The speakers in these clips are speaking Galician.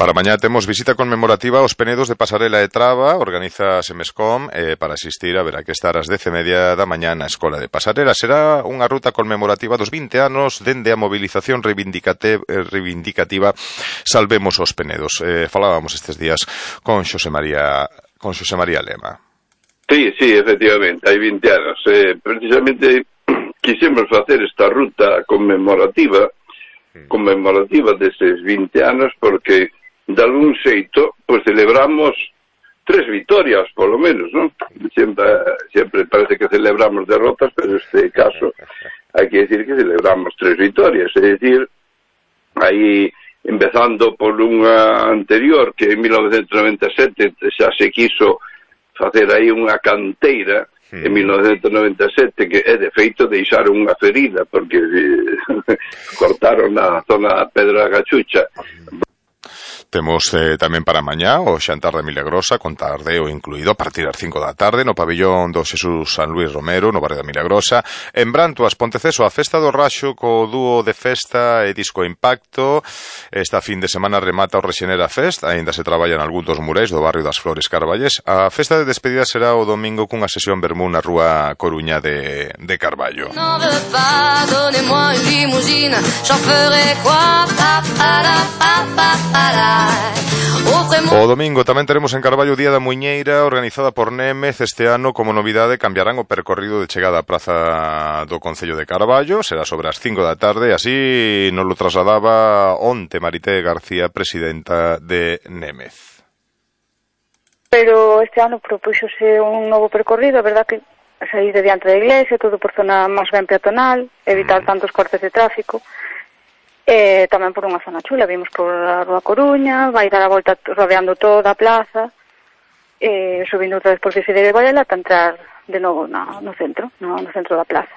Para mañá temos visita conmemorativa aos Penedos de Pasarela e Traba, organiza Semescom para asistir a ver a que estar ás 10:30 da mañá na Escola de Pasarela. Será unha ruta conmemorativa dos 20 anos dende a movilización reivindicativa Salvemos os Penedos. Falábamos estes días con Xosé María Lema. Sí, efectivamente, hai 20 anos. Precisamente quixemos facer esta ruta conmemorativa deses 20 anos porque de algún xeito, pois celebramos 3 vitorias, polo menos, non? Sempre parece que celebramos derrotas, pero neste caso hai que decir que celebramos 3 vitorias, é dicir, aí empezando por unha anterior que en 1997 xa se quiso facer aí unha canteira en 1997 que é de feito deixaron unha ferida porque cortaron a zona da Pedra Gachucha. Temos tamén para mañá o xantar de Milagrosa, con tardeo incluído, a partir das 5 da tarde, no pabillón do Xesús San Luis Romero, no barrio da Milagrosa. En Brantoas, Ponteceso, a festa do Raxo co dúo de festa e disco Impacto. Esta fin de semana remata o Rexenera Fest, aínda se traballa en algún dos murais do barrio das Flores Carballés. A festa de despedida será o domingo cunha sesión vermú na rúa Coruña de Carballo. O domingo tamén teremos en Carballo o Día da Muiñeira, organizada por Némez. Este ano, como novidade, cambiarán o percorrido de chegada á praza do Concello de Carballo. Será sobre as 5 da tarde, así nos lo trasladaba onte Marité García, presidenta de Némez. Pero este ano propúxose un novo percorrido, a verdad que sair de diante da iglesia, todo por zona máis ben peatonal, evitar tantos cortes de tráfico. Tamén por unha zona chula, vimos por a Rúa Coruña, vai dar a volta rodeando toda a plaza, subindo outra vez por Fixeira de Varela para entrar de novo no centro da plaza.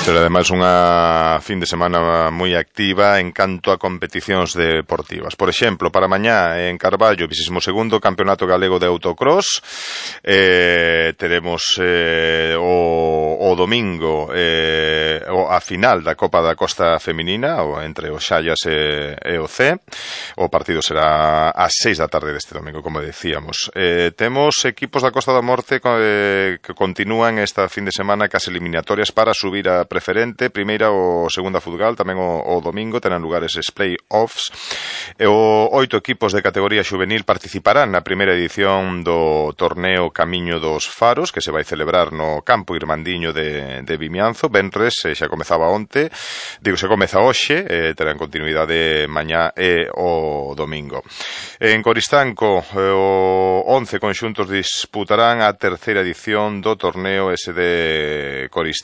Será ademais unha fin de semana moi activa en canto a competicións deportivas. Por exemplo, para mañá en Carballo, 22º Campeonato Galego de Autocross. Teremos o domingo a final da Copa da Costa Feminina entre o Xallas e o C. O partido será ás 6 da tarde deste domingo, como decíamos. Temos equipos da Costa da Morte que continúan esta fin de semana cas eliminatorias para subir a preferente, primeira ou segunda futgal, tamén o domingo terán lugares os play-offs. 8 equipos de categoría xuvenil participarán na primeira edición do torneo Camiño dos Faros, que se vai celebrar no campo Irmandiño de Vimianzo, venres, xa comezaba onte, se comeza hoxe, terán continuidade mañá e o domingo. En Coristanco, o 11 conxuntos disputarán a terceira edición do torneo SD Coristanco,